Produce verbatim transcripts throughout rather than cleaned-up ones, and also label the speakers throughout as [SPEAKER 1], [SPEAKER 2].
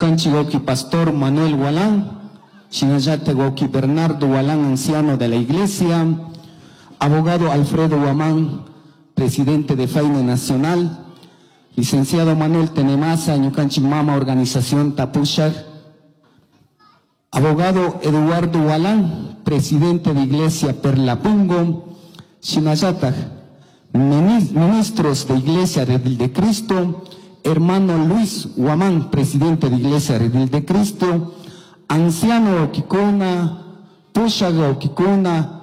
[SPEAKER 1] Ñukanchik wawki pastor Manuel Gualán, shinallatak wawki Bernardo Gualán, anciano de la iglesia, abogado Alfredo Guamán, presidente de Faine Nacional, licenciado Manuel Tenemasa, ñukanchik mama organización Tapushak, abogado Eduardo Gualán, presidente de Iglesia Perlapungo, shinallatak, ministros de Iglesia Redil de Cristo, hermano Luis Guamán, presidente de Iglesia Redil de Cristo, anciano wawkikuna, pushak wawkikuna,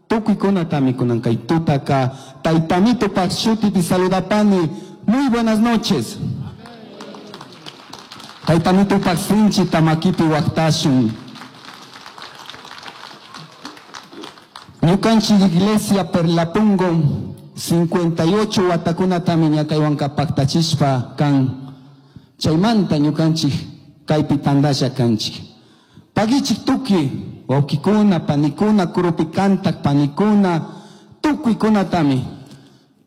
[SPEAKER 1] tukuykunatami kunan kay tutaka, Tayta Amitopak shutipi saludapani. Muy buenas noches. Tayta Amitopak sinchita makipi waktashun. Ñukanchik Iglesia Perlapungo cincuenta y ocho watakunatami ñakaywanka paktachishpa kan. Chaymanta ñukanchik kaypi tandalla kanchik. Pagichik tuki wawkikuna, panikuna, kurupi kantak panikuna, tukuykunatami.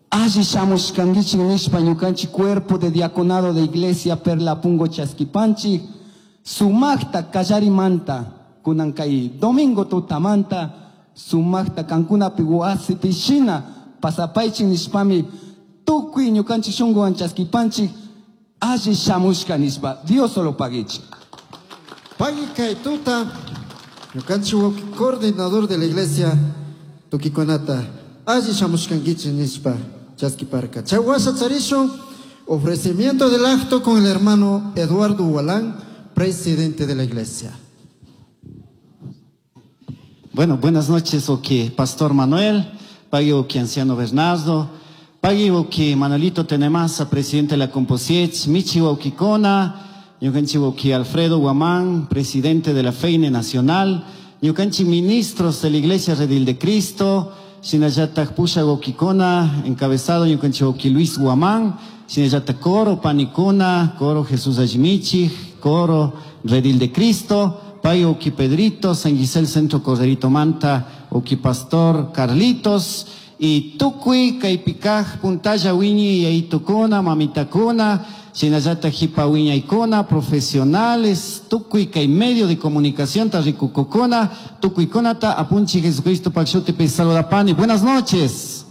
[SPEAKER 1] Alli shamushkankichik nishpa ñukanchik cuerpo de diaconado de Iglesia Perlapungo chaskipanchik, sumakta kallarimanta, kunan kay domingo tutamanta, sumakta kankunapi wasipi shina pasapaychik nishpami tukuy ñukanchik shunkuwan chaskipanchik, alli shamushka nishpa. Dios solo pagichik.
[SPEAKER 2] Pagui kay tuta, ñukanchik wawki coordinador de la iglesia tukikunata alli shamushkankichik nishpa chaskiparka. Chay washa charishun ofrecimiento del acto con el hermano Eduardo Gualán, presidente de la iglesia.
[SPEAKER 3] Bueno, buenas noches, oki Pastor Manuel, pagui oki Anciano Bernardo, pagui oki Manuelito Tenemasa, presidente de la Composiech, michi oki Kona, ñukanchi oki Alfredo Guamán, presidente de la Feine Nacional, ñukanchi ministros de la Iglesia Redil de Cristo, shinallatak pusha wawkikuna, encabezado ñukanchi wawki Luis Guamán, shinallatak coro panikuna, coro Jesús Allimichi, coro Redil de Cristo, pay wawki Pedrito, San Gisel Centro Corderito Manta, wawki Pastor Carlitos, y tukuy kaypikaj puntalla wiñi yaytukuna, mamitakuna, shinallatak jipa wiñaykuna, profesionales, tukuy kay medio de comunicación tarrikukukuna, tukuykunata apunchi Jesucristo pakshutipi saludapani. Buenas noches.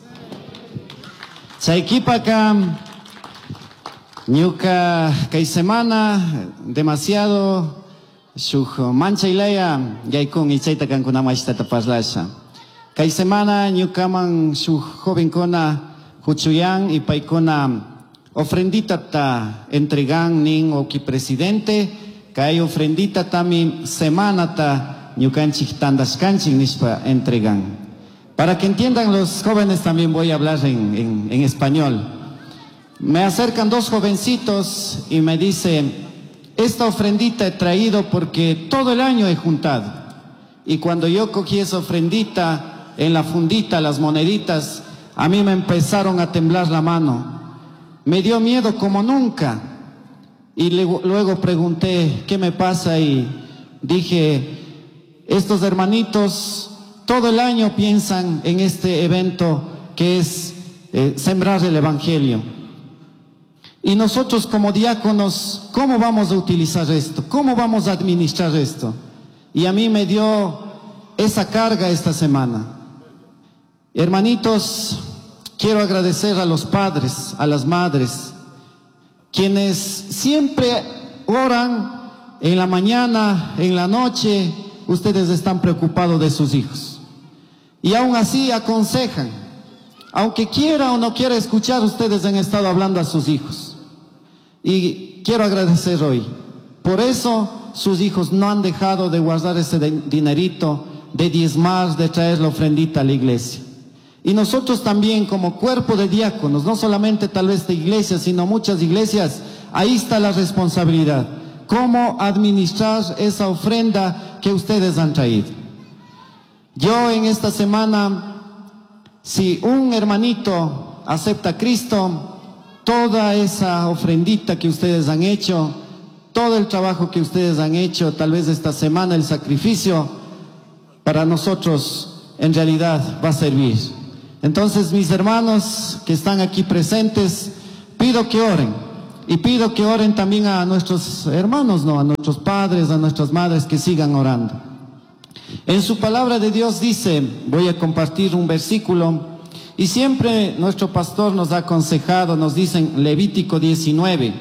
[SPEAKER 3] Chaykipaka ñuka kay semana demasiado shuk manchaylaya yaykun y chayta kankunama ashtata parlasha. Kay semana ñukaman shuk jovenkuna huchuyan y paykuna ofrendita ta entregan nin oki presidente, kay ofrendita tami semana ta ñukanchik tandashkanchik nishpa entregan. Para que entiendan los jóvenes también voy a hablar en, en, en español. Me acercan dos jovencitos y me dicen, esta ofrendita he traído porque todo el año he juntado. Y cuando yo cogí esa ofrendita, en la fundita, las moneditas, a mí me empezaron a temblar la mano. Me dio miedo como nunca. Y luego, luego pregunté, ¿qué me pasa? Y dije, estos hermanitos todo el año piensan en este evento que es, eh, sembrar el Evangelio. Y nosotros como diáconos, ¿cómo vamos a utilizar esto? ¿Cómo vamos a administrar esto? Y a mí me dio esa carga esta semana. Hermanitos, quiero agradecer a los padres, a las madres, quienes siempre oran en la mañana, en la noche, ustedes están preocupados de sus hijos. Y aún así aconsejan, aunque quiera o no quiera escuchar, ustedes han estado hablando a sus hijos. Y quiero agradecer hoy. Por eso sus hijos no han dejado de guardar ese de-, dinerito, de diezmar, de traer la ofrendita a la iglesia. Y nosotros también como cuerpo de diáconos, no solamente tal vez de iglesia, sino muchas iglesias, ahí está la responsabilidad. Cómo administrar esa ofrenda que ustedes han traído. Yo en esta semana, si un hermanito acepta a Cristo, toda esa ofrendita que ustedes han hecho, todo el trabajo que ustedes han hecho, tal vez esta semana el sacrificio, para nosotros en realidad va a servir. Entonces, mis hermanos que están aquí presentes, pido que oren. Y pido que oren también a nuestros hermanos, no, a nuestros padres, a nuestras madres, que sigan orando. En su palabra de Dios dice, voy a compartir un versículo, y siempre nuestro pastor nos ha aconsejado, nos dice en Levítico diecinueve,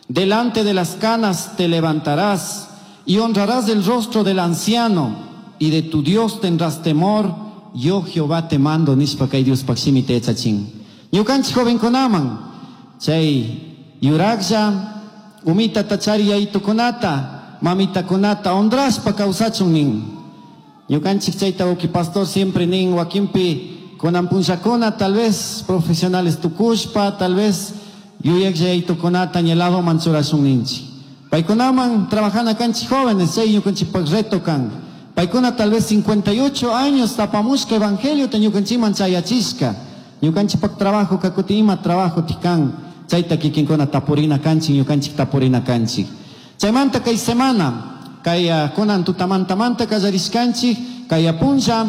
[SPEAKER 3] delante de las canas te levantarás y honrarás el rostro del anciano, y de tu Dios tendrás temor, yo Jehová te mando, nishpa kay Dios pakshimi te echachin. Ñukanchik jovenkunaman, chay yuraklla, umita tachari yayitukunata, mamitakunata, honrashpa kawsachun nin. Ñukanchik chayta wawqi pastor siempre nin, wakinpi kunan punllakuna, tal vez profesionales tukushpa, tal vez yuyaklla yayitukunata ñeladoman churashun ninchik. Paykunaman trabajana kanchik jóvenes, chay ñukanchikpak reto kan. Paykuna tal vez cincuenta y ocho años tapamushka evangelio te ñukanchikman chayachishka. Ñukanchikpak trabajo kakuti ima trabajo tikan. Chayta kikinkuna tapurina kanchik, ñukanchik tapurina kanchik. Chaymanta kay semana, kay kunan tutamantamanta kallarishkanchik, kay apunlla,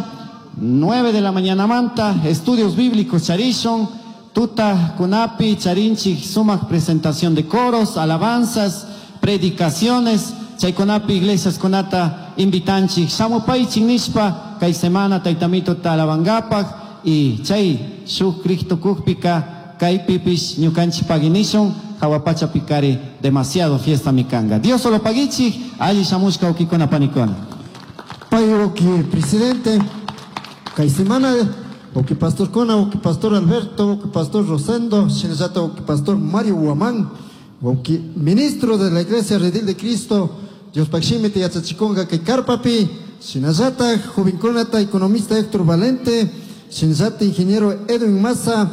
[SPEAKER 3] nueve de la mañana manta, estudios bíblicos charishon, tuta kunapi charinchik sumak presentación de coros, alabanzas, predicaciones, chaykunapi iglesias kunata invitanchik, shamupaychik nishpa, kay semana taytamito talabangapak, y chay shuk Cristo kukpika, kay pipish ñukanchik paginishun, hawa pacha pikari demasiado fiesta mikanga. Dios solo pagichik, alli shamushka ukikuna panikuna.
[SPEAKER 2] Pay uki presidente, kay semana, uki pastor Kona, uki pastor Alberto, uki pastor Rosendo, shinallata uki pastor Mario Guamán, uki ministro de la Iglesia Redil de Cristo, Dios pakshimi te yachachikonga kay karpapi, shinallata jovenkunata economista Héctor Valente, shinallata ingeniero Edwin Maza,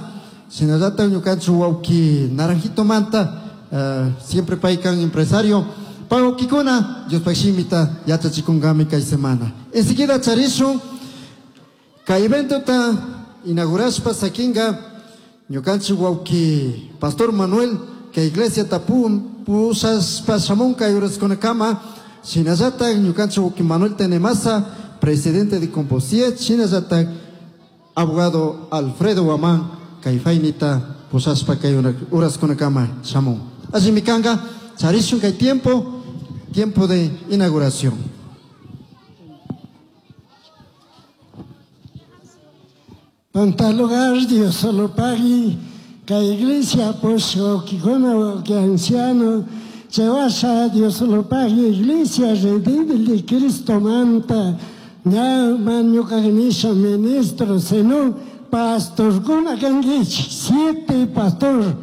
[SPEAKER 2] shinallata ñukanchu wawki Naranjito Manta, uh, siempre paykan empresario, pawkikuna, Dios pakshimita yachachikungami kay semana. Enseguida charishun, kay evento ta inaugurashpa sakinga, ñukanchu wawki Pastor Manuel, kay iglesia tapun, pushashpa shamun kay uraskunakama, shinallata ñukanchu wawki Manuel Tenemasa, presidente de Composiet, shinallata abogado Alfredo Guamán, kay fainita pushashpa kay uraskunakama shamun. Así mikanga, charishun kay tiempo, tiempo de inauguración.
[SPEAKER 4] Punta lugar, Dios solo pagui, kay iglesia puso, kikuna, que anciano, chewasha, Dios solo pagui, iglesia redil de Cristo manta, ña man ñuka ministro, sino pastor kuna kanguich, siete pastor,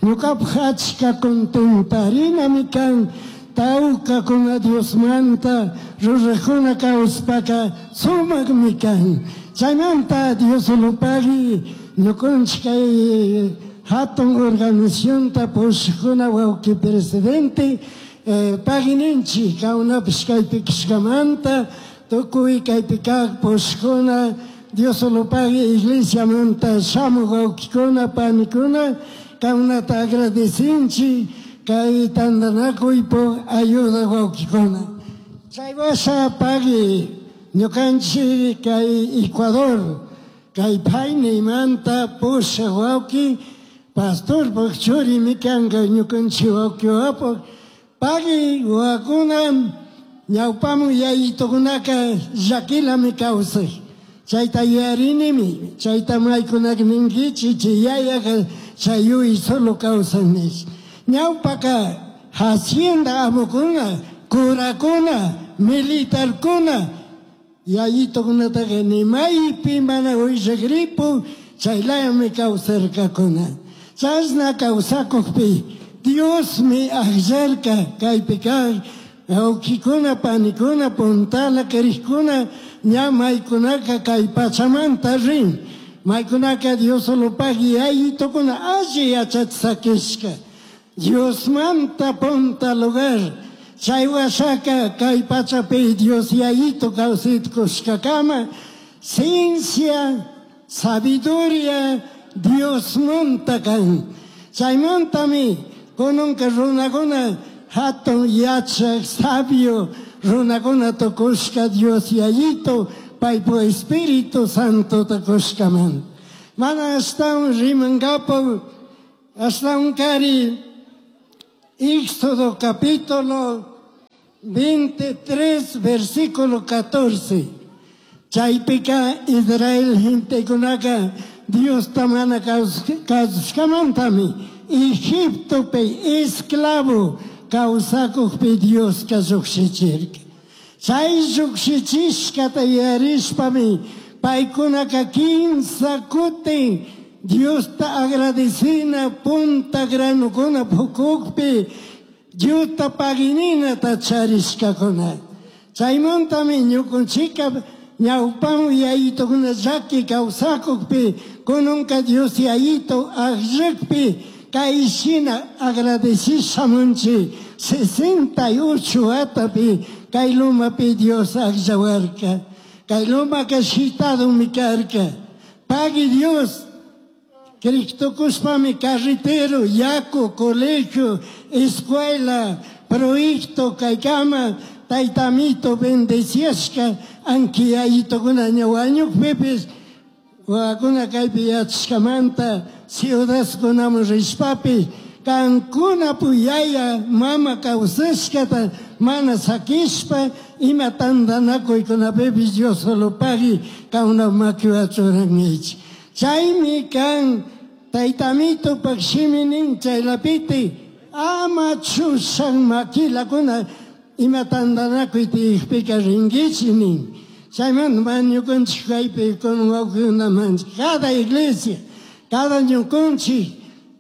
[SPEAKER 4] ñuka pjachka contentarina mi kan, tauka kuna Dios manta, rurajuna kauspaka, sumak mi kan. Chaymanta Dios lo pagui, ñukanchik kay hatun organización ta pushkuna wawqi presidente, eh, pagininchik kawnapish kaypi kishkamanta, tukuy kaypi kaq pushkuna, Dios lo pagui iglesia manta shamuq wawqikuna panikuna, kawnata agradecinchik kay tantanakuypuk ayuda wawqikuna. Chay washa pagui ñukanchik kay Ecuador, kay payniymanta pushaq wawqi, pastorpaq churimi kanka ñukanchik wawqi wapaq, pagui wawakuna ñawpaman yayitukunaka llakilami kawsaq. Chayta yuyarinimi, chayta maykunaka ninkichik, chay yayaka chay yuy solo kawsan nish. Ñawpaka hacienda amukuna, curakuna, militarkuna, yayitukunataka ni maypi mana uyshakripu, chaylayami kawsarkakuna. Chashna kawsakukpi Diosmi akllarka kaypi kaq wawqikuna, panikuna, puntala kariqkuna, ña maykunaka kay pachamanta rin. Maykunaka Dios solo pagui yayitukuna alli yachachisakishka. Diosmanta punta lugar. Chay washaka kay pachapi Dios yayitu kawsaykushkakama, ciencia, sabiduría, Diosmanta kan. Chaymantami kunanka runakuna hatun yachaq sabio runakuna tukushka Dios yayitu paypu Espíritu Santo tukushkaman. Mana ashtawan rimankapu, ashtawan kari Éxodo capítulo veintitrés, versículo catorce. Chaypika Israel gentekunaka Diosta mana kasushkamantami Egiptopi esclavo kawsakukpi Dioska llukshichirka. Chay llukshichishkata yarishpami paykunaka kimsa kutin Diosta agradecina punta granukuna pukukpi Diosta pagininata charishkakuna. Chaymantami ñukunchika ñawpamu yayitokuna llaki kawsakukpi kununka Dios yayito akllakpi kay shina agradechishamunchi sesenta y ocho watapi kay lumapi Dios akllawarka. Kay lumaka shitadumi karka. Pagui Dios Cristo kushpami carretero, yaku, colegio, escuela, proyecto kaykama taytamito bendeciashka anki yayitokuna ña wañukpipis wawakuna kaypi yachashkamanta ciudadkunaman rishpapish kankuna puyaya mama kawsashkata mana sakishpa ima tantanakuykunapipish Dios solo pagui kauna makiwa churankichik. Chaymi kan taytamitopak shiminin chaylapiti ama chushan makilakuna ima tantanakuy tiyakpika rinkichik nin. Chaymanta mana ñukanchik kaypi kun wawqikunamanchik cada iglesia, cada ñukanchik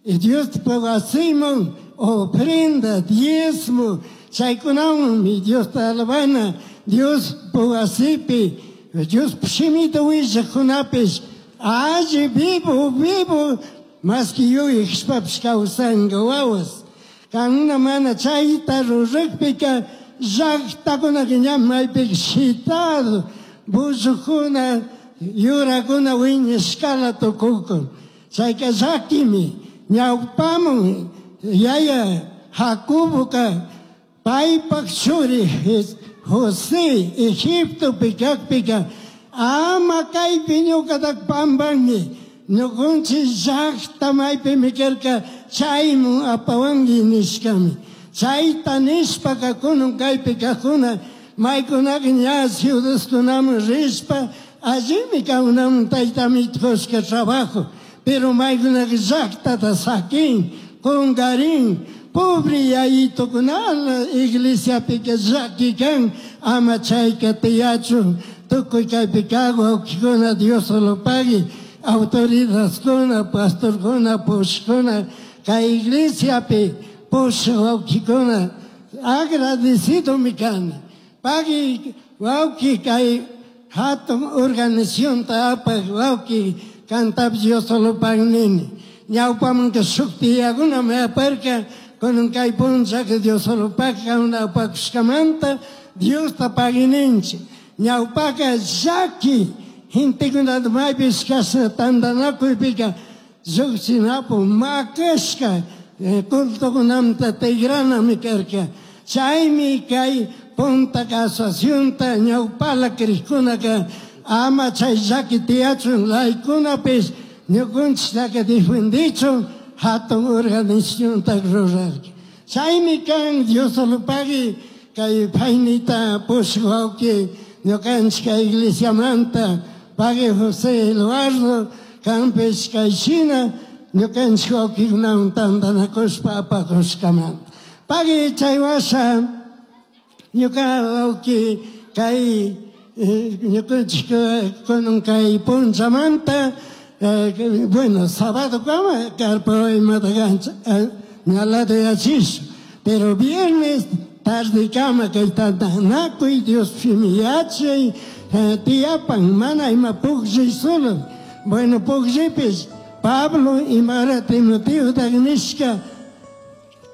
[SPEAKER 4] Diosta wasiman ofrenda, diezmo, chaykunawanmi Diosta alabana, Dios wasipi, Dios shimita willaqkunapish alli vivo, vivo, más que yuyashpapish kawsanka wawas. Kankuna mana chayta ruraqpika llaqtakunaka ña maypika shitado, bullukuna, yurakuna wiñashkala tukukun. Chayka llakimi ñawpamun yaya Jacoboka paypak churi José Egiptopi kakpika ama kaypi ñukatak pampanki ñukunchik llaqta maypimi karka chaymun apawanki nishkami. Chayta nishpaka kunun kaypi kajkuna maykunaka ña ciudadkunaman rishpa allimi kawnamun taytamito kushka trabajo, pero maykunaka llaqtata sakin kunkarin pobre yayitukunala iglesiapika llaki kan ama chayka tiyachun tukuy kaypi kaq wawqikuna Dios solo pagui autoridadkuna pastorkuna pushkuna kay iglesiapi pushaq wawqikuna agradecidomi kani. Pagui wawqi kay hatun organizacionta apaq wawqi kantapish Dios solo pagui nini. Ñawpamanka shuk tiyakunami aparka kunan kay punchaka Dios solo pagui kankuna apakushkamanta Diosta pagui ninchik. Ñawpaka llaki gentekunata maypish kashna tantanakuypika lluqshinapu makashka cultokunamanta tigranami karka. Chaymi kay punta asociacionta ñawpala krikkunaka ama chay llaki tiyachun laykunapish ñukunchiktaka defendichun hatun organizacionta rurarka. Chaymi kan Dios solo pagui kay paynita pushaq wawqi ñukanchik kay iglesiamanta pagui José Eduardo kanpish kay shina ñukanchik wawqikunawan tantanakushpa apakushkamanta. Pagui chay washa ñuka wawqi kay ñukanchik kunan kay punchamanta bueno sábado kama karpa imata kancha ñalata yachish, pero viernes tarde kama kay tantanakuy Dios yachay tiyapan mana ima pukllay solo. Bueno pukllaypish Pablo imara Timoteo nishka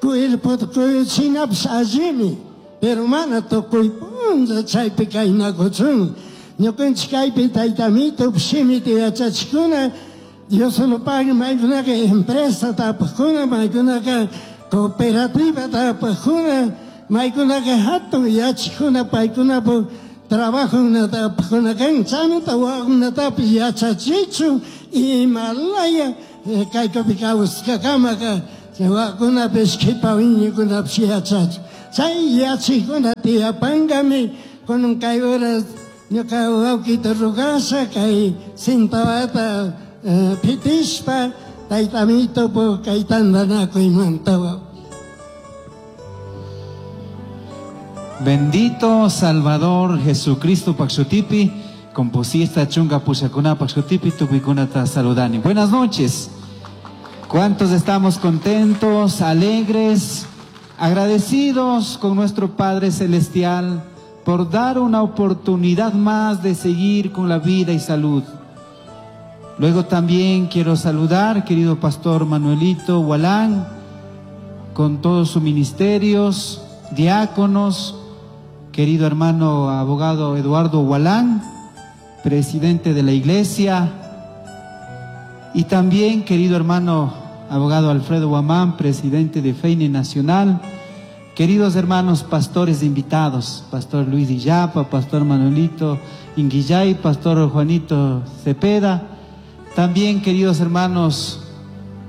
[SPEAKER 4] cuerpota kuyuchinapish allimi, pero mana tukuy punlla chaypi kaynakuchun. Ñukanchik kaypi taytamito shimita yachachikuna Dios solo pagui maykunaka empresa tapaqkuna maykunaka cooperativa tapaqkuna maykunaka hatun yachikuna paykunapu trabajokunata apaqkuna kan chaymanta wawakunatapish yachachichun imalaya kaykupi kawsakakamaka Wakunapish qhipa wiñaykunapish yachachun. Chay yachikuna tiyapankami kunan kay horas ñuka wawkita rugasha kay cintawata pitishpa tayta Amitopu kay tantanakuymanta.
[SPEAKER 5] Bendito Salvador Jesucristo Paxutipi, composista chunga pushakuna Paxutipi, tukuikunata saludani. Buenas noches. ¿Cuántos estamos contentos, alegres, agradecidos con nuestro Padre Celestial por dar una oportunidad más de seguir con la vida y salud? Luego también quiero saludar, querido Pastor Manuelito Hualán, con todos sus ministerios, diáconos, querido hermano abogado Eduardo Hualán, presidente de la iglesia, y también querido hermano abogado Alfredo Guamán, presidente de Feine Nacional, queridos hermanos pastores invitados, Pastor Luis Illapa, Pastor Manuelito Inguillay, Pastor Juanito Cepeda, también queridos hermanos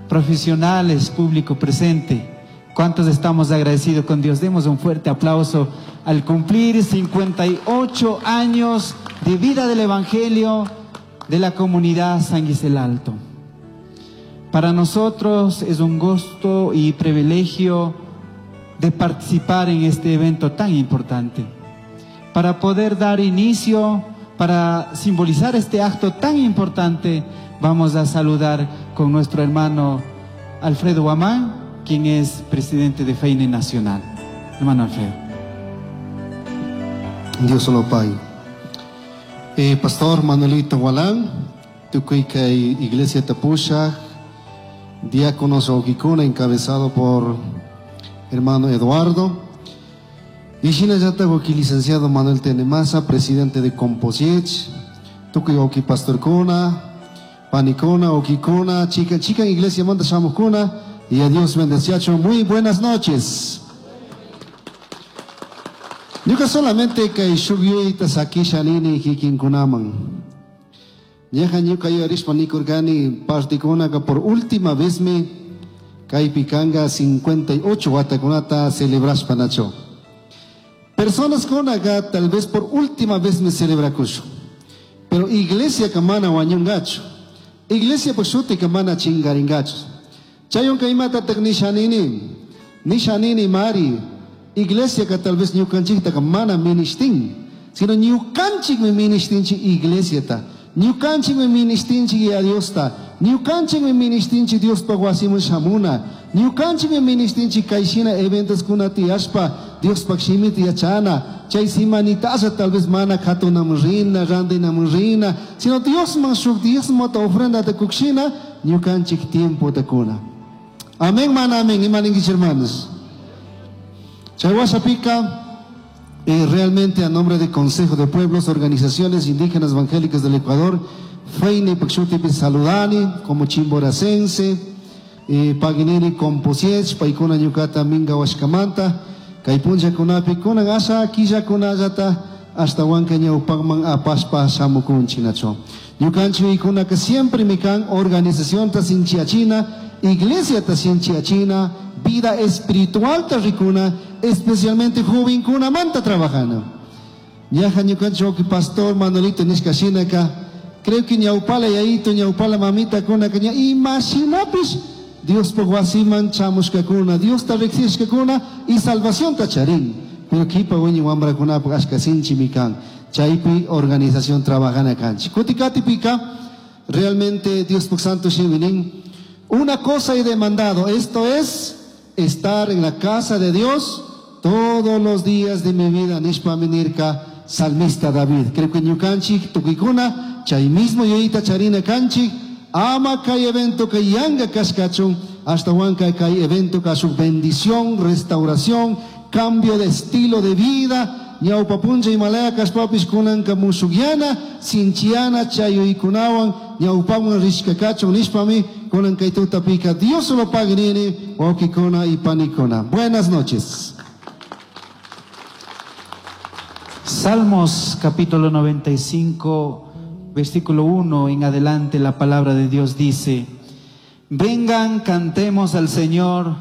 [SPEAKER 5] profesionales, público presente. ¿Cuántos estamos agradecidos con Dios? Demos un fuerte aplauso al cumplir cincuenta y ocho años de vida del Evangelio de la comunidad San Gisel Alto. Para nosotros es un gusto y privilegio de participar en este evento tan importante, para poder dar inicio, para simbolizar este acto tan importante. Vamos a saludar con nuestro hermano Alfredo Guamán, quien es presidente de Feine Nacional. Hermano Alfredo.
[SPEAKER 2] Dios lo pague. Eh, Pastor Manuelito Gualán, Tucuica Iglesia Tapusha, diáconos Oquicuna, encabezado por hermano Eduardo. Y Shinayata Oqui, licenciado Manuel Tenemasa, presidente de Composiech, Tucuy Oqui Pastor Cuna, Panicona, Oquicuna, Chica, Chica Iglesia Manda Shamucuna, y a Dios bendeciacho. Muy buenas noches. Ñuka solamente kay shuk sakisha nini kikinkunaman. Ñaja ñuka yuyarishpa nikurkani partikunaka por última vez me kaypi kanga cincuenta y ocho watakunata celebrashpa nacho. Personas kunaka tal vez por última vez me celebrakusho. Pero iglesia kamana wañungacho. Iglesia pashuti kamana chingaringacho. Chayonka imatatak nishanini. Nishanini mari. Iglesia ka tal vez ñukanchikta ka mana ministin, sino ñukanchik mi ministinchi iglesia ta, ñukanchik mi ministinchi a Dios ta, ñukanchik mi ministinchi Dios pa wasimun shamuna, ñukanchik mi ministinchi kaishina eventos kuna tiyashpa, Dios pa shimiti yachana, chay simanitasa tal vez mana katunam rina, randinam rina, sino Dios man shuk Dios mata ofrenda te kukshina, ñukanchik tiempo te kuna. Amén, mana amén, imaninguich hermanos. Chayhuasapica, eh, realmente a nombre del Consejo de Pueblos, Organizaciones Indígenas Evangélicas del Ecuador, Feine Paxutipi saludani, como chimboracense, eh, Paginini Composiech, Paikuna Ñucata Minga Huascamanta, Kaipuncha Kunapi, Kunan Asa, Quilla Kunayata, hasta Huanca Ñaupagman Apaspa Samukun Chinacho. Ñucancho y Kuna que siempre mican, organización Tasinchiachina, Iglesia Tasinchiachina, vida espiritual tarricuna, especialmente joven kuna manta trabajando. Ñaja ñukancho que pastor Manuelito nishkashinaka, creo que ñaupala yaito ñaupala mamita kuna que ña imaginapis Dios por wasiman chamushkakuna, Dios ta riksishkakuna y salvación tacharín. Pero kipa wiñi wambra kuna ashkasinchi mikan. Chaypi organización trabajana kanchi. Kutikati pika, realmente Dios por santo shiminin. Una cosa he demandado, esto es estar en la casa de Dios todos los días de mi vida. Nishpa minirka, salmista David. Creo que ñukanchik tukikuna, chay mismo yoita charina kanchik, ama kay evento kay yanga kashkachun, hasta huanca kay evento ka su bendición, restauración, cambio de estilo de vida. Ñaupa puncha Himalaya kashpapis kunanka mushugyana, sinchiana chayuykunawan, ñaupawan rishkakachun nishpami, kunan kay tutapika. Dios lo pague nini, wawkikuna y panikuna. Buenas noches.
[SPEAKER 5] Salmos capítulo noventa y cinco, versículo uno en adelante, la palabra de Dios dice: Vengan, cantemos al Señor,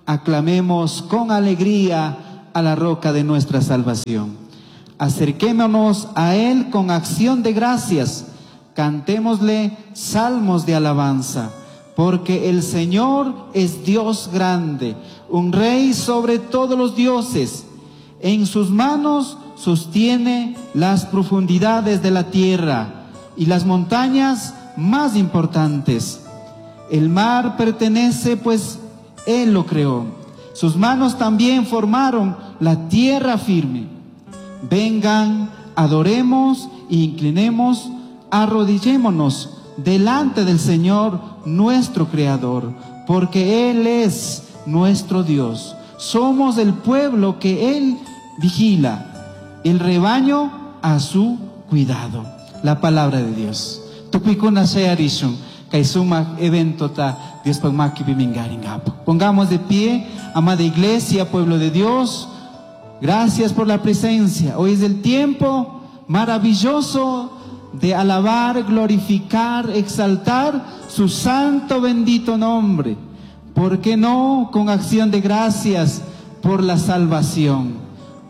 [SPEAKER 5] aclamemos con alegría a la roca de nuestra salvación. Acerquémonos a Él con acción de gracias, cantémosle salmos de alabanza, porque el Señor es Dios grande, un rey sobre todos los dioses. En sus manos sostiene las profundidades de la tierra y las montañas más importantes. El mar pertenece, pues Él lo creó. Sus manos también formaron la tierra firme. Vengan, adoremos e inclinemos, arrodillémonos delante del Señor nuestro Creador, porque Él es nuestro Dios. Somos el pueblo que Él vigila, el rebaño a su cuidado. La palabra de Dios. Tukuykuna shayarishun kay sumak eventota Diospaj makipi mingaringapak. Pongamos de pie, amada iglesia, pueblo de Dios. Gracias por la presencia. Hoy es el tiempo maravilloso de alabar, glorificar, exaltar su santo bendito nombre. ¿Por qué no con acción de gracias por la salvación?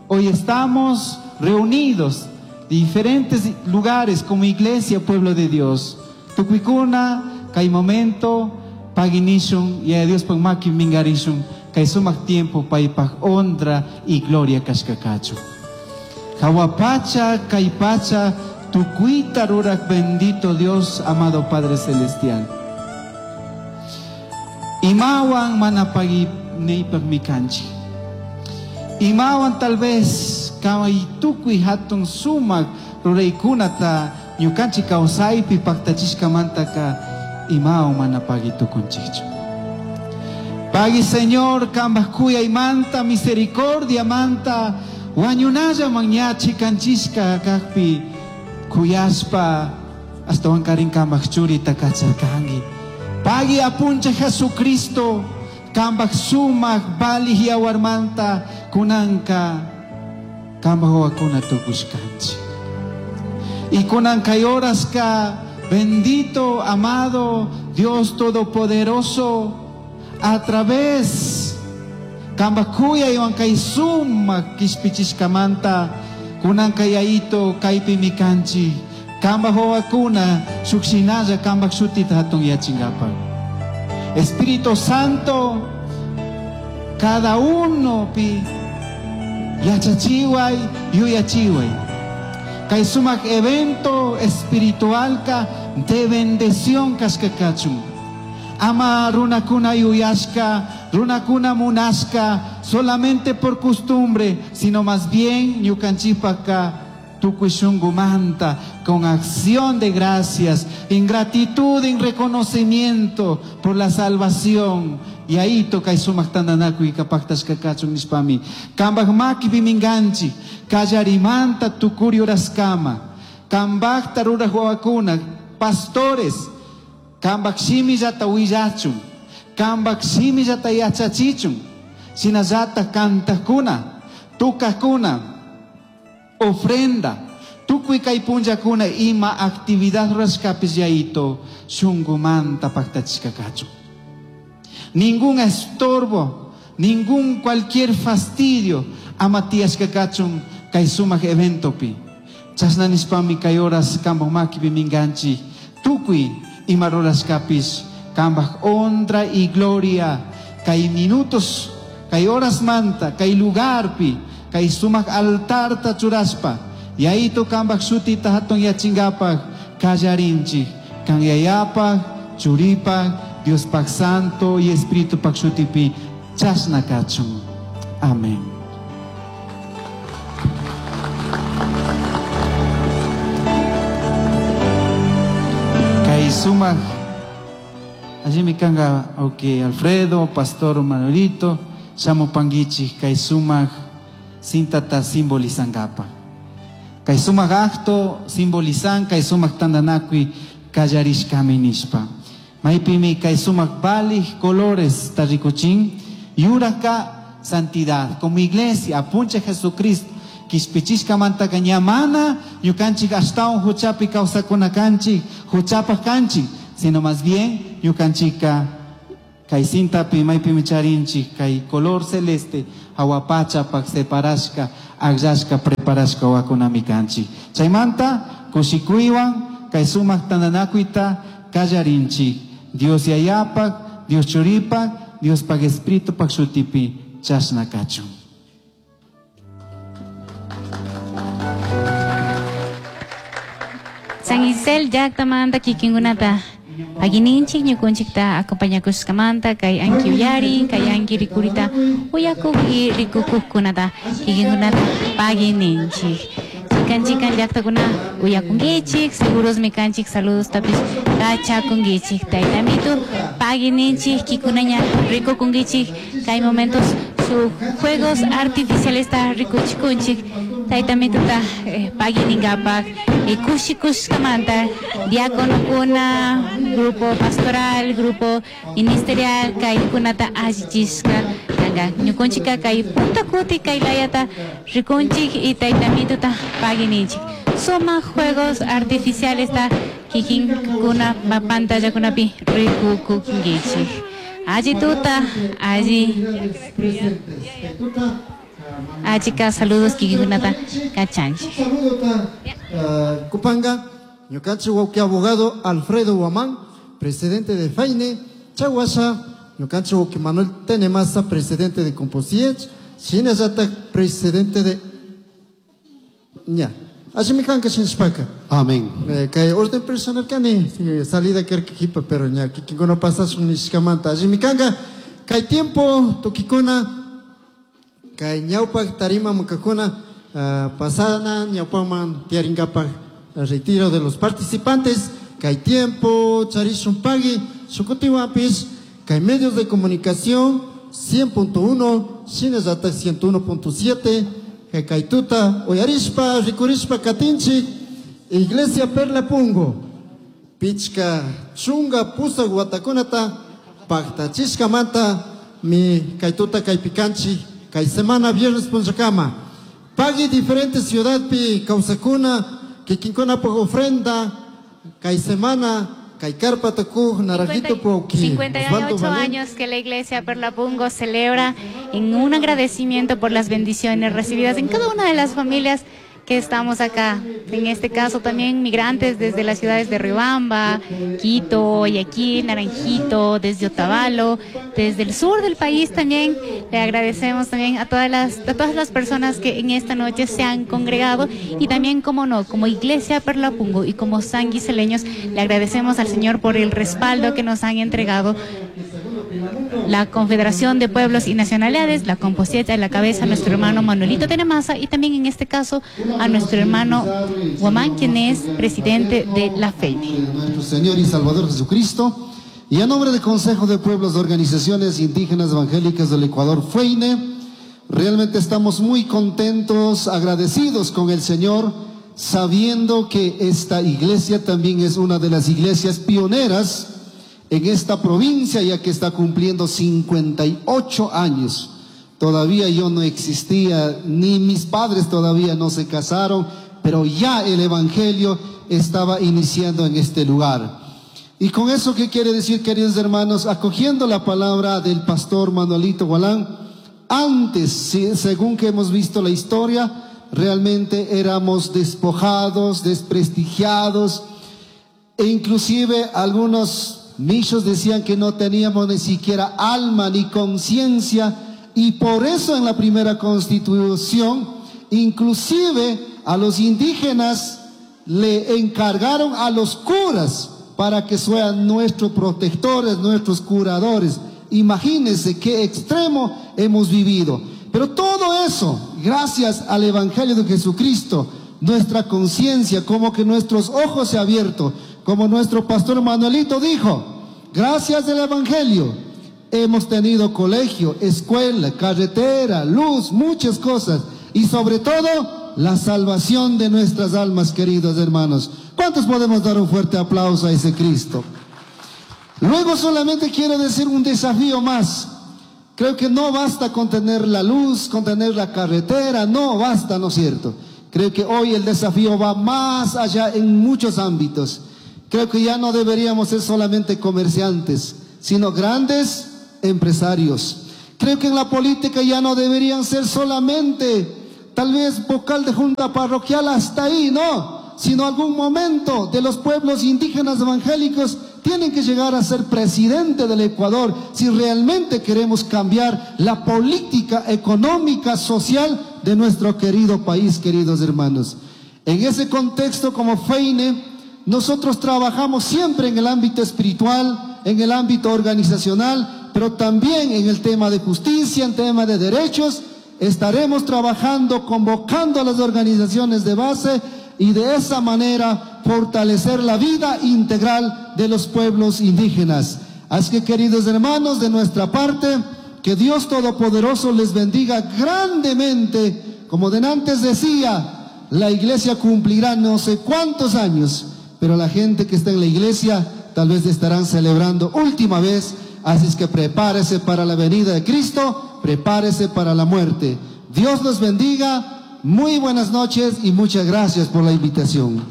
[SPEAKER 5] Hoy estamos reunidos de diferentes lugares como iglesia, pueblo de Dios. Tukuykuna, kay momento, paginishun, y a Dios pag maki mingarishun, kay sumak tiempo paypaj honra y gloria kashkakachu. Jawapacha, kay pacha, tukuita rurak bendito Dios, amado Padre Celestial. Imawan manapagi neipag mikanchi. Imawan tal vez kay tukuy hatun sumak ruraykunata ñukanchik kawsaypi paktachishkamantaka imawan manapagi tukunchikchu. Pagui Señor, kambaj kuyaymanta, misericordia manta, wañunalla mañachi kanchishka kajpi kuyashpa astawan karin kambaj churita kacharkanki. Pagui apuncha Jesucristo, kambaj sumak balij yawarmanta kunanka kambaj wawakuna tukushkanchik. Y kunanka horaska, bendito, amado Dios Todopoderoso, a través kambaj kuyaywan kay sumak kishpichishkamanta kunanka yayito kaypi mikanchik kambaj wawakuna shukshinalla kambaj shutita hatun yachinkapak. Espíritu Santo, cada uno pi yachachiway yuyachiway. Kay sumak evento espiritualka de bendición kashkakachun. Ama runakuna yuyashka, runakuna munashka, solamente por costumbre, sino más bien ñukanchipaka tukuy shungumanta, con acción de gracias, en gratitud, en reconocimiento por la salvación. Y ahí toca y sumak tandanakuy kapaktash kakachun nishpami. Kambaj makipi minganchi, kallarimanta tukuri uraskama, kambajta ruraj wawakuna, pastores, kambaj shimillata willachun, kambaj shimillata yachachichun, shinallata kantajkuna, tukajkuna, ofrenda, tukuy kay punllakuna ima actividad rurashkapis yayito shungumanta paktachishkakachun. Ningún estorbo, ningún cualquier fastidio ama tiyashkakachun kay sumak eventopi. Chashna nishpami kay horas kambaj makipi minganchi, tukuy ima rurashkapis kambaj honra y gloria, kay minutos, kay horas manta, kay lugarpi, kay sumak altarta churashpa, yayito kambaj shutita hatun yachingapak kallarinchik, kan yayapaj, churipaj, Diospaj Santo y Espíritu pak shutipi chashna kachun. Amén. Kay sumak allí mi kanga, ok, Alfredo, Pastor Manuelito, shamupanguichik kay sumak sintata simbolizangapa. Kay sumak acto simbolizan kay sumak tandanakuy kallarishkami nishpa. Maypimi kay sumak balij colores tarikuchin, yuraka santidad. Como iglesia, apunche Jesucristo, kishpichishka mantaka ñamana, ñukanchik ashtawan huchapi kawsakuna kanchik, huchapaj kanchik, sino más bien ñukanchika Kay cintapi maypimi charinchik kay color celeste hawa pachapaq separashka akllashka preparashka wawakunami kanchik. Chaymanta kushikuywan kay sumaq tantanakuyta kallarinchik. Dios Yayapaq, Dios Churipaq, Diospaq Espiritupaq shutipi chashna kachun.
[SPEAKER 6] San Isel llaqtamanta kikinkunata pagininchik ñukunchikta acompañakushkamanta kay anki uyarin, kay anki rikurita uyakuq y rikukuqkunata kikinkunata pagininchik. Chikan chikan llaqtakuna uyakunkichik, segurosmi kanchik, saludos tapis kachakunkichik. Taytamitu pagininchik, kikunaña rikukunkichik, kay momentos su juegos artificiales ta rikuchikunchik. Taytamituta, eh, paginingapak, eh, kushikushkamanta, diáconokuna, grupo pastoral, grupo ministerial, kaykunata allichishka kanka. Ñukunchika kay punta kuti kay layata rikunchik y taytamituta pagininchik. Suma juegos artificiales ta kikinkuna pantallakunapi rikukunkichik. Alli tuta, alli. Achika, saludos kikikunata kachanchik.
[SPEAKER 2] Saludo ta, uh, Kupanga, ñukanchik wawqi abogado Alfredo Guamán, presidente de FAINE, Chahuasha, ñukanchik wawqi Manuel Tenemasa, presidente de Composiech, Shinallata, presidente de Ña. Allimikanka shinshpaka.
[SPEAKER 7] Amén.
[SPEAKER 2] Eh, kay orden personal kani, sí, salida kerkikipa, pero ña, kikinkuna pasashun nishkamanta. Allimikanka, kay tiempo tukikuna, kay ñawpak tarima mukakuna, uh, pasana ñawpaman tiaringapaj retiro de los participantes, kay tiempo charishun pagui, shukutiwapis, kay medios de comunicación cien punto uno, shinallata ciento uno punto siete, kay tuta, uyarishpa, rikurishpa katinchik, Iglesia Perla Pungo, pichka chunga pusak watakunata, paktachishkamanta, mi kay tuta kay pikanchik, kay semana viernes punchakama. Pagui diferente ciudad pi kawsakuna, kikinkuna por ofrenda, kay semana, kay carpa taku, naranjito po ki.
[SPEAKER 6] cincuenta y
[SPEAKER 2] Osvaldo
[SPEAKER 6] ocho
[SPEAKER 2] Valente.
[SPEAKER 6] años que la Iglesia Perla Pungo celebra en un agradecimiento por las bendiciones recibidas en cada una de las familias que estamos acá. En este caso también migrantes desde las ciudades de Riobamba, Quito, Guayaquil, Naranjito, desde Otavalo, desde el sur del país también. Le agradecemos también a todas las, a todas las personas que en esta noche se han congregado y también, como no, como Iglesia Perla Pungo y como sanguiseleños, le agradecemos al Señor por el respaldo que nos han entregado la Confederación de Pueblos y Nacionalidades, la Composieta de la cabeza, nuestro hermano Manuelito Tenemasa y también en este caso a nuestro hermano Guamán, quien es presidente de la FEINE.
[SPEAKER 7] Nuestro Señor y Salvador Jesucristo, y a nombre del Consejo de Pueblos de Organizaciones Indígenas Evangélicas del Ecuador, FEINE, realmente estamos muy contentos, agradecidos con el Señor, sabiendo que esta iglesia también es una de las iglesias pioneras en esta provincia, ya que está cumpliendo cincuenta y ocho años. Todavía yo no existía, ni mis padres todavía no se casaron, pero ya el Evangelio estaba iniciando en este lugar. Y con eso, ¿qué quiere decir, queridos hermanos? Acogiendo la palabra del pastor Manuelito Gualán, antes, sí, según que hemos visto la historia, realmente éramos despojados, desprestigiados, e inclusive algunos michos decían que no teníamos ni siquiera alma ni conciencia, y por eso en la primera constitución, inclusive a los indígenas le encargaron a los curas para que sean nuestros protectores, nuestros curadores. Imagínense qué extremo hemos vivido. Pero todo eso, gracias al Evangelio de Jesucristo, nuestra conciencia, como que nuestros ojos se han abierto, como nuestro pastor Manuelito dijo, gracias al Evangelio hemos tenido colegio, escuela, carretera, luz, muchas cosas, y sobre todo la salvación de nuestras almas, queridos hermanos. ¿Cuántos podemos dar un fuerte aplauso a ese Cristo? Luego solamente quiero decir un desafío más. Creo que no basta con tener la luz, con tener la carretera, no basta, ¿no es cierto? Creo que hoy el desafío va más allá en muchos ámbitos. Creo que ya no deberíamos ser solamente comerciantes, sino grandes empresarios. Creo que en la política ya no deberían ser solamente tal vez vocal de junta parroquial hasta ahí, no, sino algún momento de los pueblos indígenas evangélicos tienen que llegar a ser presidente del Ecuador si realmente queremos cambiar la política económica, social de nuestro querido país, queridos hermanos. En ese contexto, como FEINE, nosotros trabajamos siempre en el ámbito espiritual, en el ámbito organizacional, pero también en el tema de justicia, en tema de derechos. Estaremos trabajando, convocando a las organizaciones de base y de esa manera fortalecer la vida integral de los pueblos indígenas. Así que, queridos hermanos, de nuestra parte, que Dios Todopoderoso les bendiga grandemente. Como denantes decía, la iglesia cumplirá no sé cuántos años, pero la gente que está en la iglesia tal vez estarán celebrando última vez. Así es que prepárese para la venida de Cristo, prepárese para la muerte. Dios los bendiga. Muy buenas noches y muchas gracias por la invitación.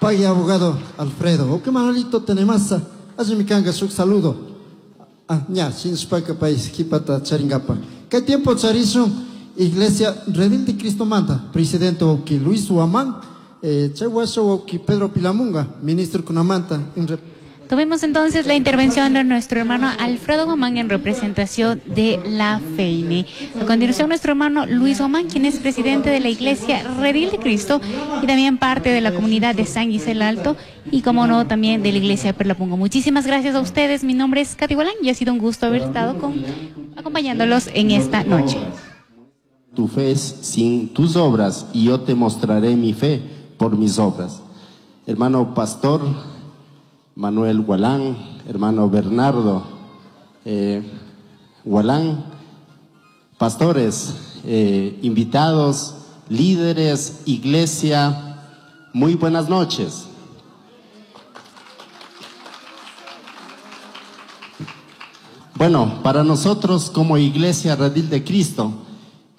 [SPEAKER 2] Pague abogado Alfredo. O que Manolito tenemasa. Azumikanga su saludo. Ah, ña, sin spaca país, jipata charingapa. ¿Qué tiempo charizo? Iglesia Redil de Cristo manda. Presidente Oki Luis Huamán, eh, Chahuaso Oki Pedro Pilamunga, ministro Kunamanta. En
[SPEAKER 6] Tuvimos entonces la intervención de nuestro hermano Alfredo Guamán en representación de la FEINE. A continuación, nuestro hermano Luis Guamán, quien es presidente de la Iglesia Redil de Cristo y también parte de la comunidad de San Gisel Alto y, como no, también de la Iglesia Perlapungo. Muchísimas gracias a ustedes. Mi nombre es Katy Gualán y ha sido un gusto haber estado con, acompañándolos en esta noche.
[SPEAKER 8] Tu fe es sin tus obras y yo te mostraré mi fe por mis obras. Hermano pastor Manuel Gualán, hermano Bernardo eh, Gualán, pastores, eh, invitados, líderes, iglesia, muy buenas noches. Bueno, para nosotros como Iglesia Redil de Cristo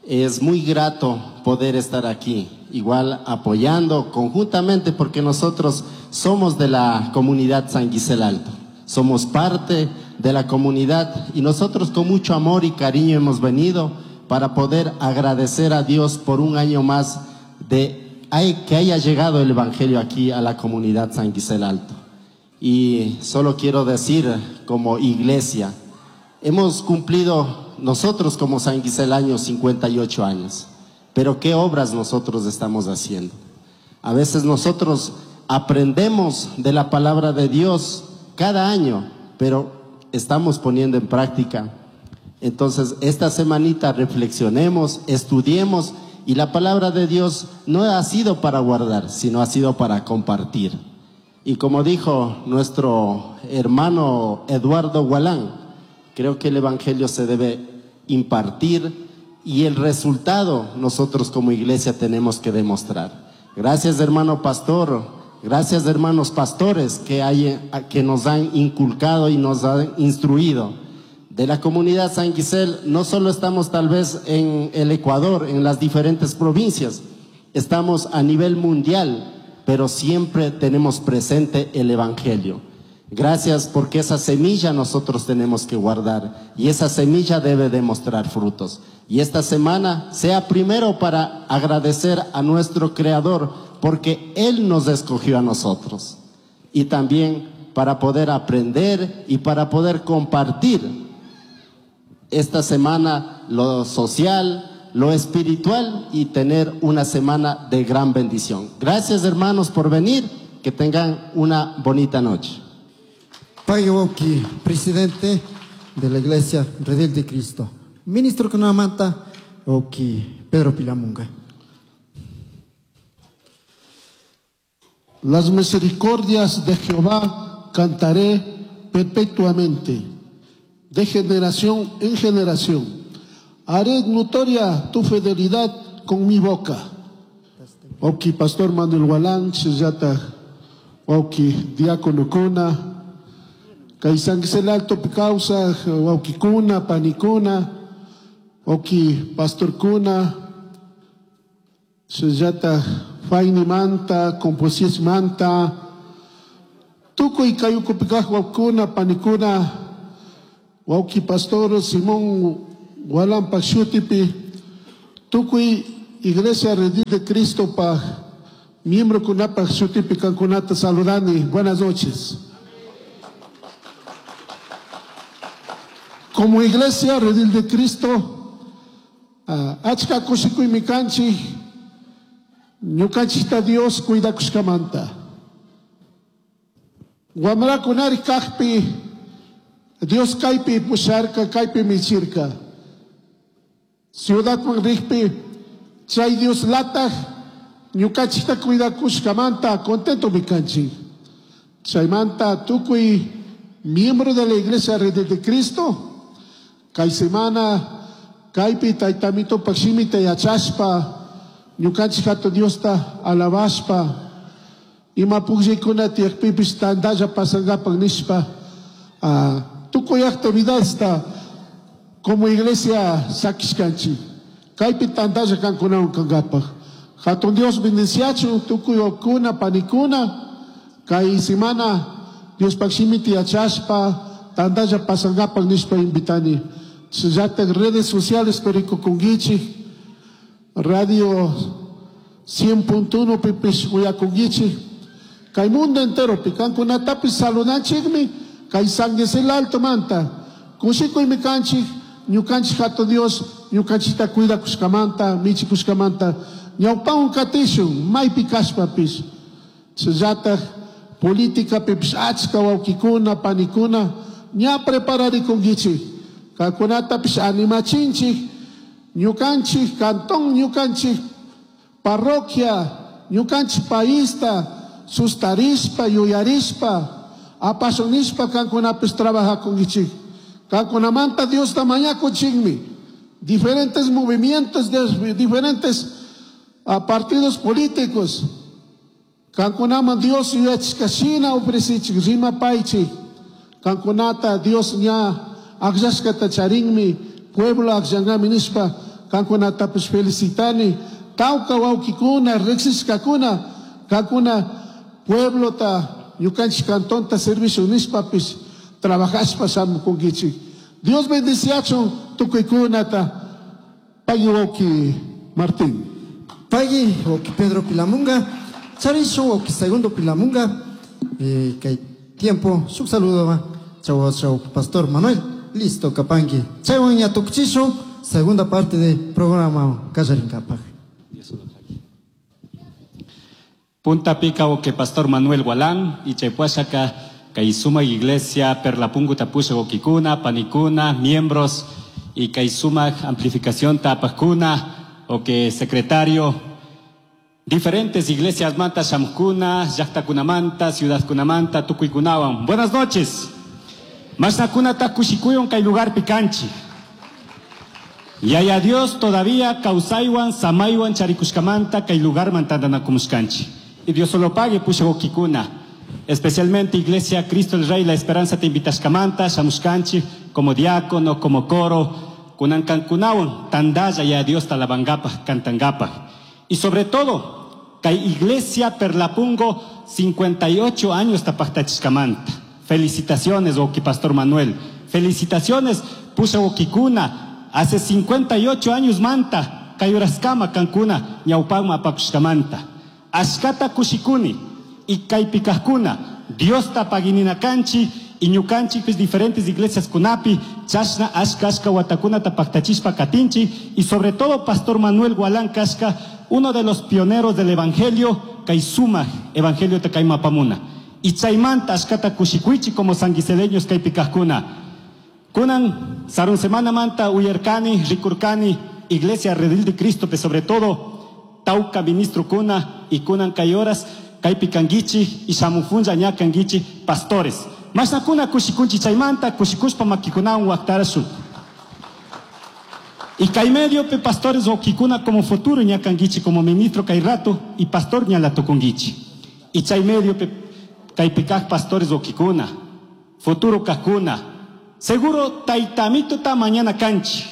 [SPEAKER 8] es muy grato poder estar aquí, igual apoyando conjuntamente, porque nosotros somos de la comunidad San Gisel Alto, somos parte de la comunidad y nosotros con mucho amor y cariño hemos venido para poder agradecer a Dios por un año más de que haya llegado el Evangelio aquí a la comunidad San Gisel Alto. Y solo quiero decir como iglesia, hemos cumplido nosotros como San Gisel años cincuenta y ocho años, pero ¿qué obras nosotros estamos haciendo? A veces nosotros aprendemos de la palabra de Dios cada año, pero estamos poniendo en práctica. Entonces, esta semanita reflexionemos, estudiemos, y la palabra de Dios no ha sido para guardar, sino ha sido para compartir. Y como dijo nuestro hermano Eduardo Gualán, creo que el Evangelio se debe impartir y el resultado nosotros como iglesia tenemos que demostrar. Gracias, hermano pastor, gracias, hermanos pastores que, hay, que nos han inculcado y nos han instruido. De la comunidad San Gisel, no solo estamos tal vez en el Ecuador, en las diferentes provincias, estamos a nivel mundial, pero siempre tenemos presente el Evangelio. Gracias, porque esa semilla nosotros tenemos que guardar y esa semilla debe demostrar frutos. Y esta semana sea primero para agradecer a nuestro Creador, porque Él nos escogió a nosotros. Y también para poder aprender y para poder compartir esta semana lo social, lo espiritual y tener una semana de gran bendición. Gracias, hermanos, por venir. Que tengan una bonita noche.
[SPEAKER 2] Payoki, presidente de la Iglesia Redil de Cristo. Ministro Kunamanta, Oki Pedro Pilamunga.
[SPEAKER 9] Las misericordias de Jehová cantaré perpetuamente, de generación en generación. Haré notoria tu fidelidad con mi boca. Oki Pastor Manuel Gualán, Chillata, Oki Diácono Kuna, Kay San Gisel Alto causa, Oki Kuna, Panicuna, Oki Pastor Kuna, Chillata, Faini Manta, Composies Manta, Tuco y Cayuco Picajua Kuna, Panicuna, Wauki Pastor Simón Gualampa shutipi, tukuy Iglesia Redil de Cristo pa miembro kunapa shutipi kankunata saludani. Buenas noches. Como Iglesia Redil de Cristo, uh, achka kushikuy mikanchik, ñukanchikta Dios cuidakushkamanta. Wamrakunari kajpi, Dios kaypi pusharka, kaypi michirka. Ciudadman rikpi, chay Dios lataj, ñukanchikta cuidakushkamanta, contento mikanchik. Chaymanta tukuy miembro de la Iglesia Redil de Cristo, kay semana kaypi taytamito pakshimita yachashpa, ñukanchik hatun Diosta alabashpa, ima pukllaykuna tiyakpipis tantalla pasankapak nishpa, uh, tukuy actividadesta como iglesia sakishkanchik. Kaypi tantalla kankunawan kankapak. Hatun Dios bendiciachun tukuy okuna panikuna, kay semana Dios pakshimita yachashpa, tantalla pasankapak nishpa invitani. Llatak redes sociales perikukunkichik, radio cien punto uno pipis uyakunkichik, kay mundo entero pi kankunatapis saludanchikmi, kay San Gisel Alto manta, kushikuymi kanchik, ñukanchik hatun Dios, ñukanchikta cuidakushkamanta, michikushkamanta, ñawpawan katishun, maypi kashpapis. Llatak política pipis achka wawkikuna, panikuna, ña prepararikunkichik. Kankunatapis animachinchik, ñukanchik cantón, ñukanchik parroquia, ñukanchik paista, sustarispa, yuyarispa, apasionishpa kankunapis trabajakunkichik. Kankunamanta Diosta mañakuchikmi. Diferentes movimientos, de, diferentes uh, partidos políticos. Kankunaman Dios yuyachishkashina ofrecichik, rimapaychik. Kankunata Dios ña akllashkata charinmi, pueblo akllangami nishpa, kankunatapis felicitani. Tawka wawkikuna, riqsishkakuna, kankuna pueblota, ñukanchik cantonta servicio nishpapis, trabajashpa shamukunkichik. Dios bendiciachun tukuykunata. Pagui wawki Martín.
[SPEAKER 2] Pagui wawki Pedro Pilamunga, charishun wawki Segundo Pilamunga, eh, kay tiempo, shuk saludo va. Chau, chau, Pastor Manuel. Listo, kapanki. Chaywan ña tukchishun, segunda parte del programa Kallarinkapaj.
[SPEAKER 10] Punta Pica o que Pastor Manuel Gualán y Chaypuashaka, Kaisuma Iglesia, Perlapungu Tapusha Okikuna, Panikuna, miembros y Kaisuma Amplificación Tapakuna, o que secretario, diferentes iglesias manta Shamkuna, Llaqtakunamanta, Ciudad Kunamanta, Tukuikunawan. Buenas noches. Masnakuna takushikuyon kay lugar pikanchi. Yaya Dios todavía kausaywan, samaywan, charikushkamanta kay lugar mantandanakumuskanchi. Y Dios solo pague pushagokikuna. Especialmente Iglesia Cristo el Rey, la Esperanza te invitashkamanta, shamushkanchi, como diácono, como coro, kunankankunawan, tandaya ya Dios talabangapa, cantangapa. Y sobre todo, kay Iglesia Perlapungo, cincuenta y ocho años tapactachishkamanta. Felicitaciones, Oki Pastor Manuel. Felicitaciones, Pusha Okikuna. Hace cincuenta y ocho años manta, kayuraskama kankuna, ñawpagma apakushkamanta. Ashkata kushikuni, y kaypikajkuna, Dios tapaginina kanchi, y ñukanchi pues diferentes iglesias kunapi, chashna ashkashka watakuna tapaktachispa katinchi, y sobre todo Pastor Manuel Gualán Kashka, uno de los pioneros del Evangelio, kaisuma, Evangelio takaimapamuna. Y chaymanta ashkata kushikuichi como sanguiseleños kaypikajkuna. Kunan sarun semana manta uyerkani, rikurkani, Iglesia Redil de Cristo, pero sobre todo tauka ministro kuna y kunan kayoras, kaypikanguichi y shamufunja ñakanguichi pastores. Masnakuna kushikunchi chaymanta, kushikushpa makikunawan waqtarasun. Y kay medio pe pastores okikuna como futuro ñakanguichi como ministro kay rato y pastor ñalatukunguichi. Y chay medio pe kaypikaj pastores okikuna, futuro kakuna. Seguro taitamito ta mañana kanchi.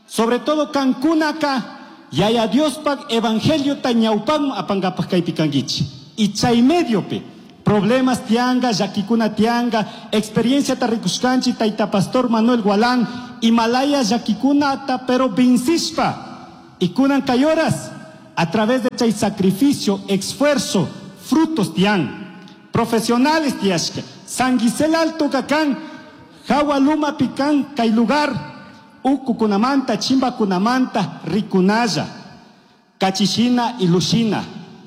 [SPEAKER 10] Sobre todo kankunaka yaya Dios pak evangelio ta ñawpan apangapak kaypikanguichi. Y chay medio pe Problemas tianga, llakikuna tianga, experiencia tarrikushkanchi, taita pastor Manuel Gualán, Himalaya llakikunata, pero vincishpa. Y kunan kayoras, a través de chay sacrificio, esfuerzo, frutos tian. Profesionales tiashka, San Gisel Alto kakan, Jawa Luma pican, kay lugar, uku kunamanta, chimba kunamanta, rikunaya, kachishina y lushina.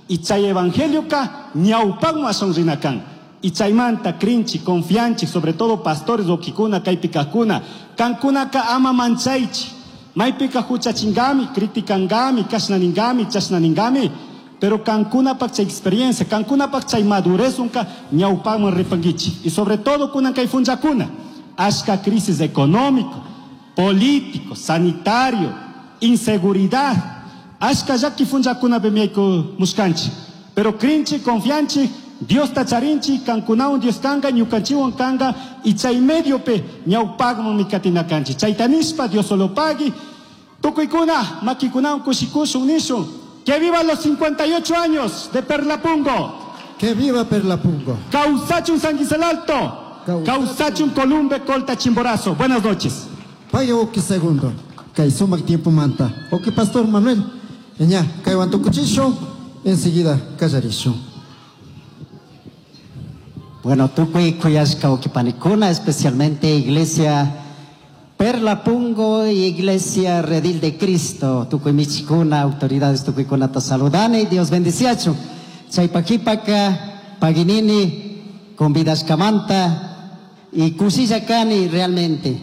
[SPEAKER 10] Y chay evangelio ka, ñawpanma sonrinakan. Y chaymanta, crinchi, confianchi, sobre todo pastores okikuna, kaypikakuna, kankunaka ama manchaychi, maypika huchachingami, criticangami, kashnaningami, chashnaningami, pero kankuna pak chay experiencia, kankuna pak chay madurez unka ñawpanman ripanguichi. Y sobre todo kunan kay funchakuna, ashka crisis económico, político, sanitario, inseguridad, ashka llaki funchakuna bemiayku muskanchi. Pero crinchi, confianchi, Dios tacharinchi, kankunawan Dios kanga, ñukanchiwan kanga, y chay medio pe ñawpagman mikatinakanchi. Chaytanispa, Dios solo pagui, tukuykuna, makikunawan kushikushun nishun. Que viva los cincuenta y ocho años de Perlapungo.
[SPEAKER 2] Que viva Perlapungo.
[SPEAKER 10] Causachun San Gisel Alto. Causachun Columbe, Colta, Chimborazo. Buenas noches.
[SPEAKER 2] Vaya oki segundo. Kay sumak tiempo manta. Oki Pastor Manuel. Eña, kay wantukuchisho. Enseguida kallarisho.
[SPEAKER 11] Bueno, tukuy kuyashka okipanikuna, especialmente Iglesia Perlapungo y Iglesia Redil de Cristo, tukuy michikuna, autoridades tukuy kunata saludani, Dios bendiciachu. Chaypakipaka, paginini, convidashkamanta y kushillakani realmente.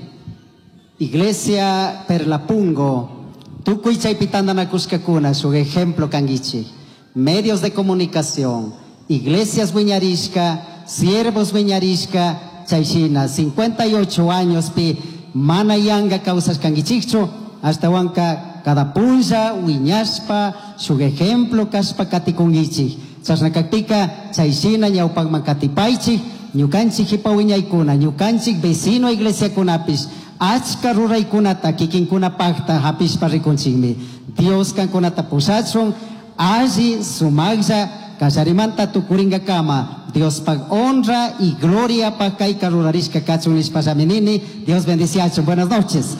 [SPEAKER 11] Iglesia Perlapungo, tukuy chaypitandanakushkakuna, su ejemplo kanguichi. Medios de comunicación, iglesias wiñarishka, siervos wiñarishka, chayshina, cincuenta y ocho años pi manayanga causas kanguichicho, hasta huanca cada punza, wiñaspa, su ejemplo kaspa katikunguichi. Chasnakakpika, chayshina ñawpakman katipaychik, ñukanchik hipa wiñaykuna, ñukanchik vecino iglesia kunapis, achka ruraykunata kikinkuna pakta hapishpa rikunchikmi. Dios kankunata pusachun, alli sumaqlla kallarimanta tukuringa kama. Dios pa honra y gloria pa kayka rurarishka kachun nishpa llaminini. Dios bendiciachun. Buenas noches.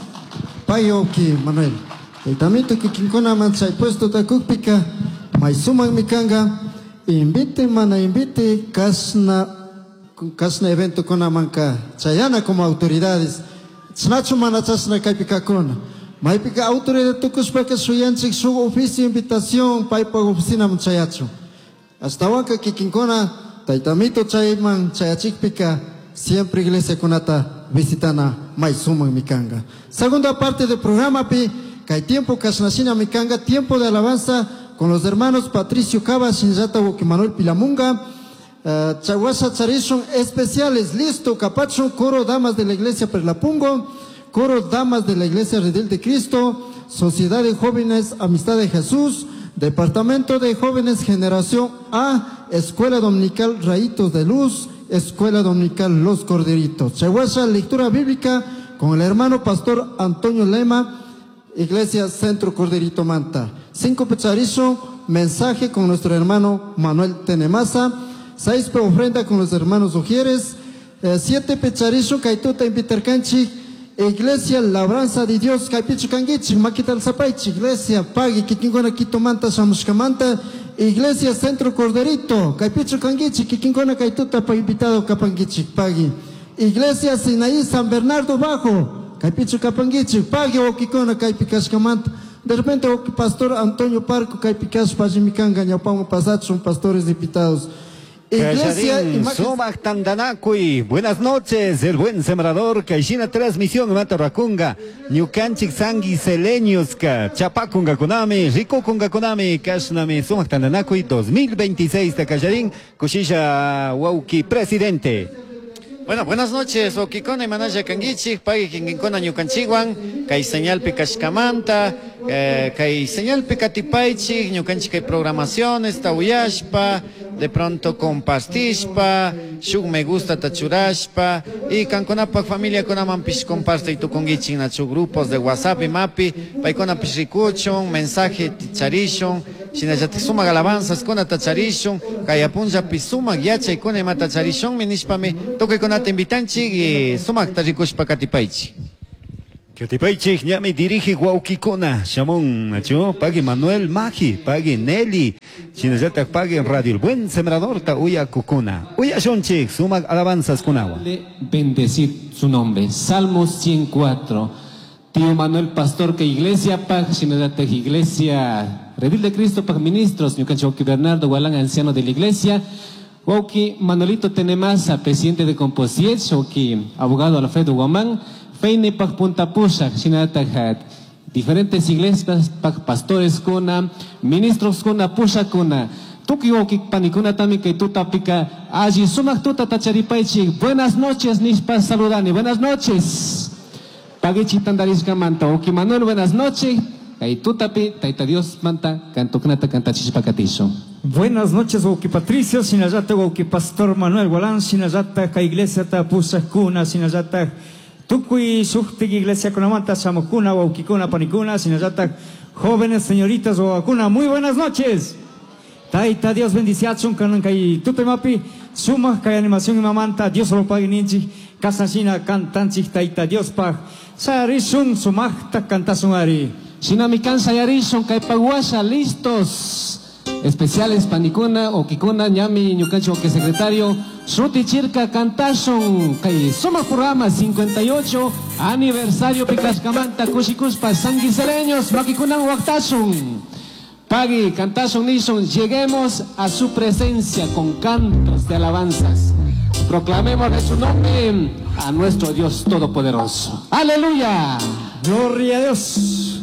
[SPEAKER 2] Payoki Manuel. Taytamito kikinkuna man chay puesto takukpika, may sumak mikanga, invite mana invite kasna, kasna evento kuna manka chayana como autoridades. Chnachu mana chasna kaypikakuna. Maypika autoridad tukushpaka suyanchik su oficio invitación paypa oficina man chayachu. Hasta wanka kikinkuna taytamito chayman chayachikpika siempre iglesia kunata visitana may sumak mikanga. Segunda parte del programa pi kay tiempo kasnashina mikanga, tiempo de alabanza con los hermanos Patricio Cava, Shinjata Woki Manuel Pilamunga, uh, Chaguasa Charishon especiales, listo, Capacho, coro damas de la iglesia Perlapungo, coro damas de la iglesia Redil de Cristo, Sociedad de Jóvenes Amistad de Jesús, Departamento de Jóvenes Generación A, Escuela Dominical Rayitos de Luz, Escuela Dominical Los Corderitos. Chaguasa, lectura bíblica con el hermano pastor Antonio Lema, Iglesia Centro Corderito Manta. Cinco Pecharizo, mensaje con nuestro hermano Manuel Tenemaza. Seis pe ofrenda con los hermanos Ujieres. Eh, siete Pecharizo, Kaituta Invitercanchi, Iglesia Labranza de Dios, Kaipichu Kanguichi, Maquital Zapaichi, Iglesia Pagui, Kikinkona Quito Manta, Samushkamanta, Iglesia Centro Corderito, Kaipichu Kanguichi, Kikinkona Kaituta, pa invitado Kapanguichi, Pagui. Iglesia Sinaí San Bernardo Bajo, Kaipichu Kapanguichi, Pagui Okikona Kaipikashkamanta. De repente, o pastor Antonio Parco, Kaipikash, Pajimikanga, Ñaupamo Pasat, son pastores invitados. Iglesia
[SPEAKER 12] Callarín, Sumac Tandanacuy. Buenas noches, el buen sembrador, Kaishina transmisión, Mata Rakunga, Ñukanchik Sangui Seleniuska, Chapakunga Kunami, Rikukunga Kunami, Kashnami, Sumac Tandanacuy dos mil veintiséis de Callarín, Kushisha Wauki, presidente.
[SPEAKER 3] Bueno, buenas noches, Okikona y Manaya Kangichik, Pagui Kinginkona Ñukanchikwan, Kay señalpi Kashkamanta, eh, Kay señalpi Katipaichik, Ñukanchik kay programaciones, Tawiyashpa, de pronto compartishpa, shuk me gusta tachurashpa, y kankunapak familia kunamanpish comparte y tukungichik nachu grupos de WhatsApp y mapi, paykuna pishrikuchun, mensaje ticharishun, Shinallatik sumak alabanzas kunata charishun, kay punllapi sumak yachaykuna imata charishunmi nishpami tukuykunata invitanchik y sumakta rikushpa katipaychik.
[SPEAKER 12] Katipaychik ñami dirige wawkikuna shamun nachu pagui Manuel Maji, pagui Nelly, shinallatak pagui Radio El Buen Sembrador ta uyakukuna. Uyashunchik sumak alabanzas kunawan.
[SPEAKER 13] Bendecir su nombre. Salmos ciento cuatro. Tío Manuel Pastor que iglesia pag shinallatak iglesia Redil de Cristo pag ministros ñukanchik wawki Bernardo Gualán anciano de la iglesia, wawki Manolito Tenemasa presidente de Composiet, wawki abogado Alfredo Guamán, Feine pag Punta Pushak shinallatak diferentes iglesias pag pastores kuna, ministros kuna, pushakuna. Tukuy wawki panikuna también kay tutapika alli sumak tuta tacharipaychik. Buenas noches nishpa saludani. Buenas noches. Paguichi tandarishkamanta. Wawki Manuel, buenas noches. Kay tutapi, Tayta Dios manta, kantukunata kantachishpa katisho.
[SPEAKER 14] Buenas noches, wawki Patricio, shinallata wawki Pastor Manuel Gualán, shinallata kay iglesia ta pushakuna, shinallata tukuy shuktik iglesia kunamanta shamukuna, wawkikuna, panikuna, shinallata jóvenes, señoritas, wawakuna. Muy buenas noches. Tayta Dios bendiciachun kanan kay tutemapi, sumak kay animación imamanta, Dios lo pague ninchik, kasashina cantanchik Tayta Dios paj, sayarishun sumakta cantasun ari.
[SPEAKER 13] Shinami kan sayarishun kay paguasha listos. Especiales panikuna, okikuna, ñami, ñukanchik oki secretario, Shuti chirka cantashun kay sumak programa cincuenta y ocho aniversario pikashkamanta kushikuspa sanguisereños makikunan waktashun. Pagui, cantashun nishun, lleguemos a su presencia con cantos de alabanzas. Proclamemos de su nombre a nuestro Dios Todopoderoso. ¡Aleluya!
[SPEAKER 14] ¡Gloria a Dios!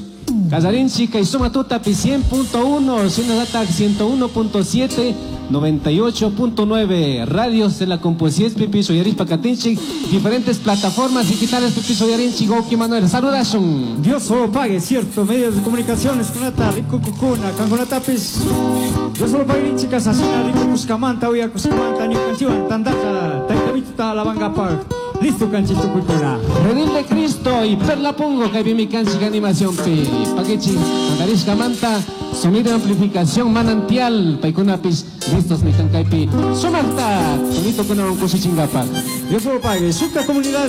[SPEAKER 13] Casarín Chica y Suma Tutapi cien punto uno, Sinadata ciento uno punto siete, noventa y ocho punto nueve, radios de la Composies, Pipi Soyaris Pacatinchi, diferentes plataformas digitales, Pipi Soyarinchi, Goki Manuel, saludasun.
[SPEAKER 14] Dios solo pague, cierto, medios de comunicaciones, Kunata, Rico Cucuna, Canconatapis, Dios solo pague, Rinchi Casasina, Rico Cuscamanta, Uya Cuscamanta, Ñucanchiwan, Tandata, Taitabita, La Banga Pag. Listo, canchito cultura.
[SPEAKER 13] Redil de Cristo y Perla Pongo, que mi canchi animación pi. Paquechi, Andarisca Manta, sonido de amplificación manantial, Paikunapis, listos mi cancaipi. Sumarta, bonito con un cusichingapa.
[SPEAKER 14] Dios lo pague, suka comunidad.